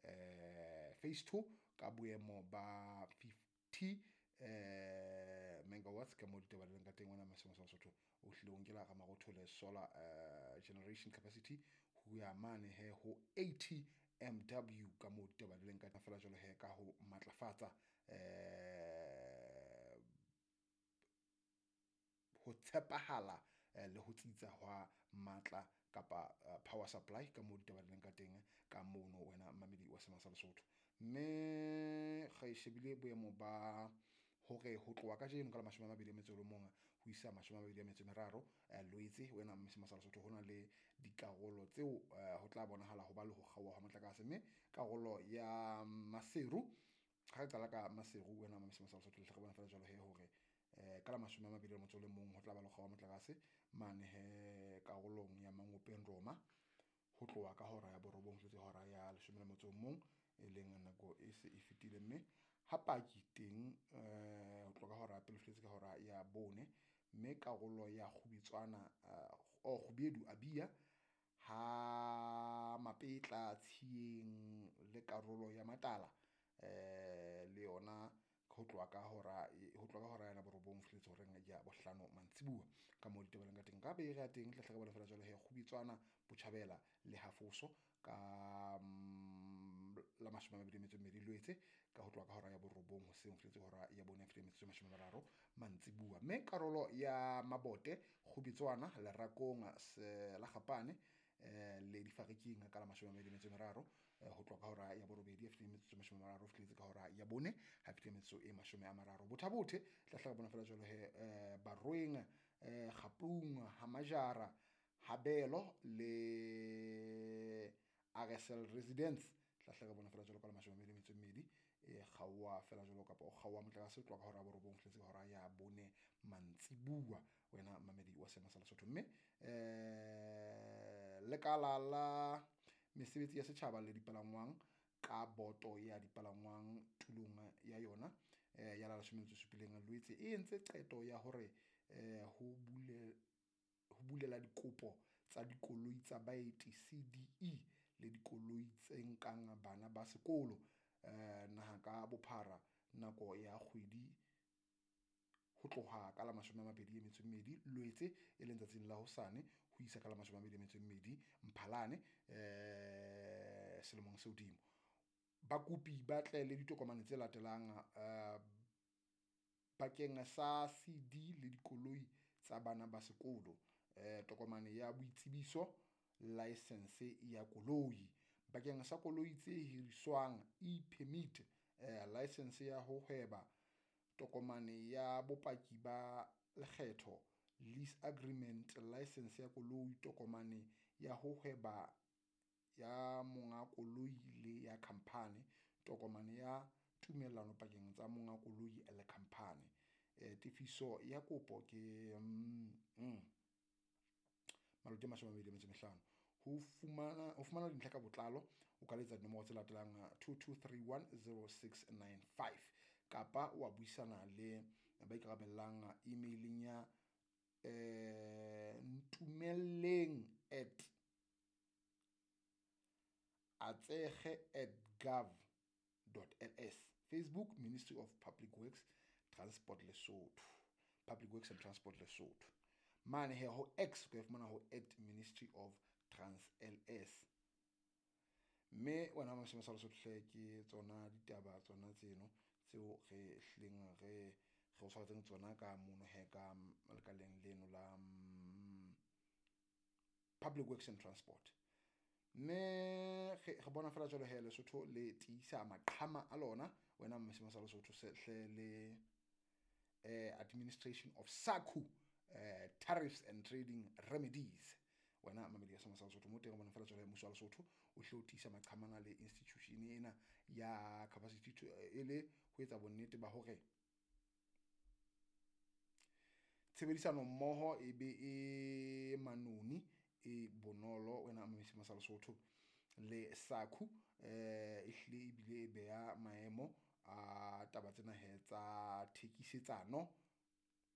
jwalo phase 2 ka boemo ba 50 megawatts ka moo ditaba di leng ka teng. Wena Masema sa Lesotho o hlile o nkela Ramarothole solar generation capacity ho ya mane he ho 80 MW ka moo ditaba di leng ka fela jwalo he ka ho matlafatsa ho tshepahala le ho tsitsa hwa matla kapa power supply ka moo ditaba di leng ka teng ka mono wena mmamedi wa Sema sa Lesotho. Mme re shebile boemo ba hore ho tloha kajeno ka la 21 ho isa 23 Loetse wena Sema sa Lesotho, hona le dikarolo tseo ho tla bonahala ho ba le ho kgaoha ha motlakase. Mme karolo ya Maseru, ha re qala ka Maseru wena Sema sa Lesotho, le re bona fela jwalo he hore ka la 21 ho tla ba le kgaoha motlakase mane he karolong ya Mangopeng Roma ho tloha ka hora ya 9 ho tletse hora ya 11, e leng nako e se e fetile. Mme ha paki teng ho tloha ka hora ya pele ho fihletse ka hora ya 4. Mme karolo ya Kgubetswana Kgubedu Abia ha Mapetla Tshiyeng le karolo ya Matala le yona ho tloha ka hora ya 9 ho fihletse horeng ya 5 mantsibuya ka moo ditaba ka teng. Ka bere ya teng tla hle re bone fela jwalo he Kgubetswana Botjhabela le Hafoso ka la 22 Loetse ka ho tloha ka hora ya 9 hoseng ho fihletse hora ya 4 fihla metsotso e 30 mantsibuya. Mme karolo ya Mabote Kgubetswana Lerakong la Gapane le Difariking ka la 23 ho tloha ka hora ya 8 fihla metsotso e 30 ho fihletse ka hora ya 4 ha fihla metsotso e 30. Botha-Bothe tla hle re bona fela jwalo he Barweng Kgapung ha Majara Habelo le RSL Residence tla hle re bona fela jwalo ka la 22 e kgaoha fela jwalo kapa o kgaoha motlakase ho tloha ka hora ya 9 ho fihletse ka hora ya 4 mantsibuya wena mamedi wa Sema sa Lesotho. Mme lekala la mesebetsi ya setjhaba le dipalangwang ka boto ya dipalangwang tulong ya yona ya la 17 Loetse e entse qeto ya hore ho bulela dikopo tsa dikoloi tsa baeti CDE le dikoloi tse nkang bana ba sekolo naha ka bophara nako ya kgwedi ho tloha ka la 22 Loetse e leng tsatsing la hosane ho isa ka la 22 Mphalane selemong se hodimo. Bakopi ba tle le ditokomane tse latelang bakeng sa CD le dikoloi tsa bana ba sekolo, tokomane ya boitsebiso, license ya koloi. Bakeng sa koloi tse hiriswang e-permit, license ya ho hweba, tokomane ya bopaki ba lekgetho, lease agreement, license ya koloi, tokomane ya ho hweba ya monga koloi le ya khampani, tokomane ya tumellano pakeng tsa monga koloi le khampani. Tefiso ya kopo ke maloti a 25. Ho fumana dintlha ka botlalo o ka letsa dinomoro tse latelang 22310695 kapa wa buisana le ba ikarabellang emaileng ya ntumelleng at atsege@gov.ls. Facebook Ministry of Public Works Transport Lesotho, Public Works and Transport Lesotho. Mane he ho X o ka fumana ho at Ministry of Trans LS. Mme wena Masema sa Lesotho hle ke tsona ditaba tsona tseno tseo re hlileng re o tshwaretseng tsona ka mono he ka lekaleng leno la Public Works and Transport. Mme re bona fela jwalo he Lesotho le tiisa maqhama a lona wena Masema sa Lesotho se hle le administration of SACU tariffs and trading remedies. Wena mamedi ya Sema sa Lesotho mo teng re bona fela jwalo mmuso wa Lesotho o hle o tiisa maqhamana le institution ena ya capacity to e le ho etsa bonnete ba hore tshebedisano mmoho e be e manoni e bonolo wena Sema sa Lesotho le SACU e hlile ebile e beha maemo a taba tsena he tsa thekisetsano